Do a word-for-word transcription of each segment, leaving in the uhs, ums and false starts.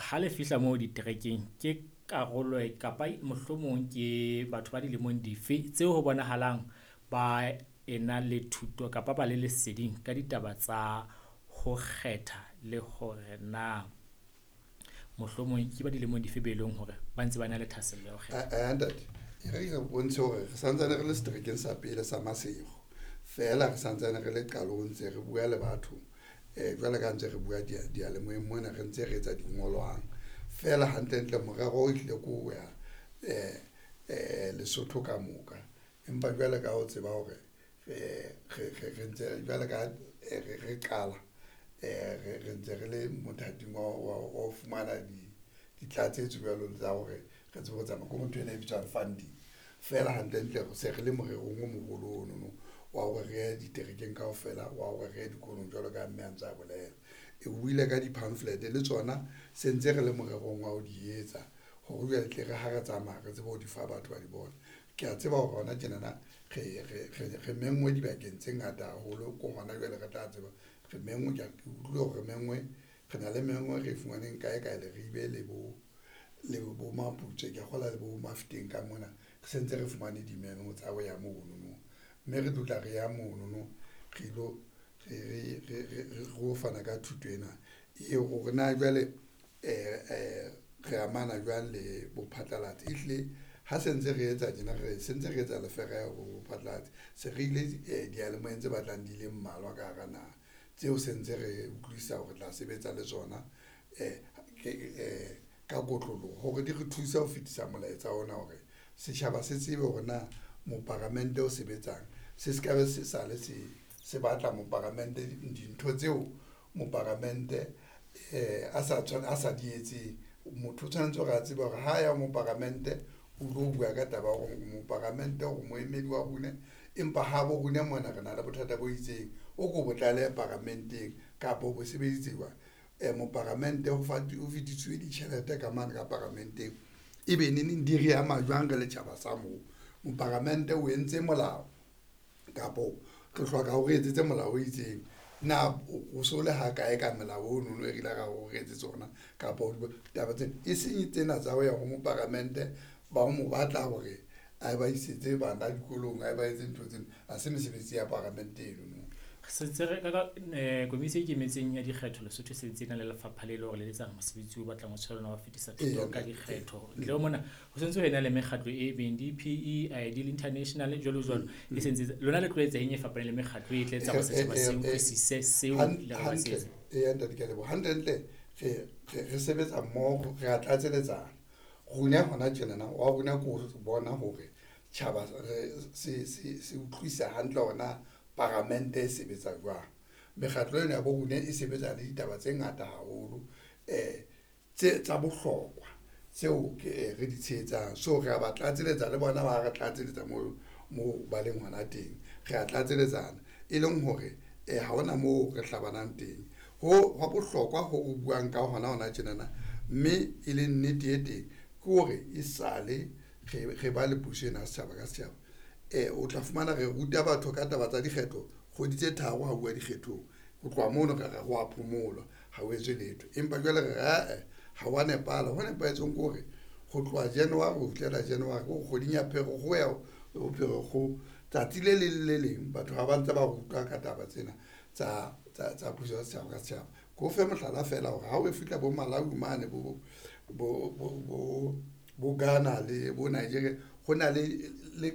Ha le fihla moo diterekeng ke karolo kapa mohlomong ke batho ba dilemong dife tseo ho bonahalang ba ena le thuto kapa ba le leseding ka ditaba tsa ho kgetha le hore na mohlomong ke ba dilemong dife be leng hore ba ntse ba na le thahasello ya ho kgetha? Eh ntate, e re re bontshe hore re santsane re le seterekeng sa pele sa Maseru, feela re santsane re le qalong ntse re bua le batho jwalo ka ntse re bua diyalemoyeng mona, re ntse re etsa dingolwang. Feela hantlentle morero o ehlile ke ho ya Lesotho ka moka. Empa jwale ka o tseba hore re ntse jwale ka re qala re ntse re le mothating wa ho fumana ditlatsetso jwalo tsa hore re tsebe ho tsamaya ko ntho ena e bitswang funding. Feela hantlentle se re le morerong o moholo ono no wa hore re ye diterekeng kaofela, wa hore re ye dikolong jwalo ka mme a ntse a bolela. E buile ka di-pamphlet le tsona se ntse re le morerong wa ho di etsa hore jwale tle re ha re tsamaya re tsebe ho di fa batho ba di bone. Ke a tseba hore hona tjenana re re re menngwe dibakeng tse ngata haholo ko hona jwale re tla tseba re menngwe ke utlwile hore re menngwe re na le menngwe re fumaneng kae kae Leribe le bo le bo Maputswe, ke a kgolwa le bo Mafeteng ka mona. Re sentse re fumane dimemo tsa ho ya mono no, mme re tlo tla re ya mono no re ilo re re re re ro fana ka thuto ena eo hore na jwale re amana jwang le bophatlalatsi. Ehlile ha se ntse re etsa tjena, re sentse re etsa lefereho ho bophatlalatsi, se re ile diyalemoyeng tse batlang di le mmalwa ka hara naha tseo se ntse re utlwisisa hore re tla sebetsa le tsona ka kotloloho hore di re thuse ho fetisa molaetsa ona hore setjhaba se tsebe hore na moparamente o sebetsang. Se se ka be se sale se se batla moparamente dintho tseo moparamente a sa a sa di etseng. Motho o tshwanetse hore a tsebe hore ha ya moparamente o tlo bua ka taba ya hore moparamente o moemedi wa rona, empa ha bo rona mona re na le bothata bo itseng, o ko bo tlalehe paramenteng kapa o bo sebeditse jwang. Moparamente ho o fetisitswe ditjhelete ka mane ka paramenteng, ebe neneng di re ama jwang re le tjhaba sa moo. Moparamente o entse molao kapo re hloka hore re etsetse molao o itseng. Na o so le ha kae ka melao ono no e re ile ra o re etsetse ona kapa taba tsena e seng tsena tsa ho ya ho moparamente ba mo batla hore a ba isetse bana dikolong, a ba etse ntho tsena. Ha se mesebetsi ya paramente eno no. Sentse re ka komisi e ikemetseng ya dikgetho Lesotho se ntse e na le lefapha le leng hore le etsang mosebetsi o batlang o tshwana wa fetisa thuto ka dikgetho. Ntle ho mona ho sentse ho ena le mekgatlo e beng D P E, I D International jwalo jwalo. E sentse lona le tlo etsa eng e fapaneng le mekgatlo e tla etsa hore setjhaba se utlwisise seo le re ba se etsa? Eya ntate, ke a leboha. Hantlentle re re sebetsa mmoho, re a tlatseletsana. Rona hona tjenana wa rona ke ho bona hore tjhaba se se se utlwisisa hantle hore na paramente e sebetsa jwang. Mekgatlo ena ya bo rona e sebetsa le ditaba tse ngata haholo tse tsa bohlokwa tseo ke re di tshehetsang. So re a ba tlatseletsa le bona ba re tlatseletsa moo moo ba leng hona teng. Re a tlatseletsana e leng hore ha hona moo re hlabanang teng. Ho hwa bohlokwa ho o buang ka hona hona tjenana, mme e le nnete e teng ke hore e sale re re ba le puso ena ya setjhaba ka setjhaba. O tla fumana re ruta batho ka taba tsa dikgetho kgwedi tse tharo ha uwa dikgethong. Ho tloha mono re re ho a phomolwa ha o etswe letho. Empa jwale re re ae ha wa nepahala. Ho nepahetseng ke hore ho tloha January ho fihlela January ko kgweding ya Pherekgong ya ho Pherekgong tsatsi le leng le leng batho ha ba ntse ba rutwa ka taba tsena tsa tsa tsa puso ya setjhaba ka setjhaba. Ke o fe mohlala feela hore ha o fihla bo Malawi mane bo bo bo bo Ghana le bo Nigeria ho na le le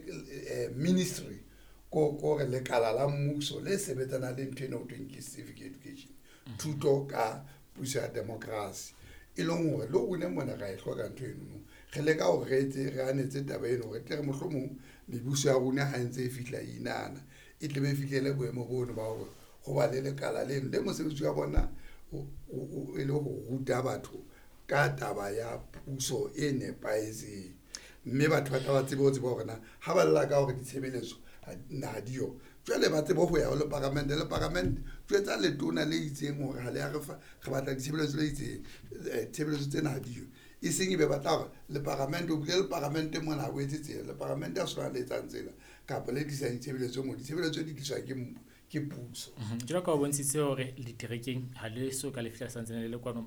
ministry ko ko re lekala la mmuso le sebetsanang le ntho ena ho thweng ke civic education, thuto ka puso ya democracy. E leng hore le rona mona ra e hloka ntho eno no. Re leka hore re etse re anetse taba eno hore tle re mohlomong mebuso ya rona ha e ntse e fihla inahana e tle be fihlele boemo bono ba hore ho ba le lekala leno le mosebetsi wa bona o e le ho ruta batho ka taba ya puso e nepahetseng. Mme batho ba tla ba tsebe ho tseba hore na ha ba lla ka hore ditshebeletso ha diyo jwale ba tsebe ho ya ho le paramente le paramente jwetsa letona le itseng hore ha le ya re fa re batla ditshebeletso le itseng tshebeletso tsena ha diyo. E seng e be batla hore le paramente o bile le paramente mona ha o etse tsela le paramente ha sona le etsang tsela kapa le tlisang ditshebeletso mo ditshebeletso di tliswa ke ke puso. Jwalo ka o bontshitse hore diterekeng ha le so ka le fihla santsane le le kwano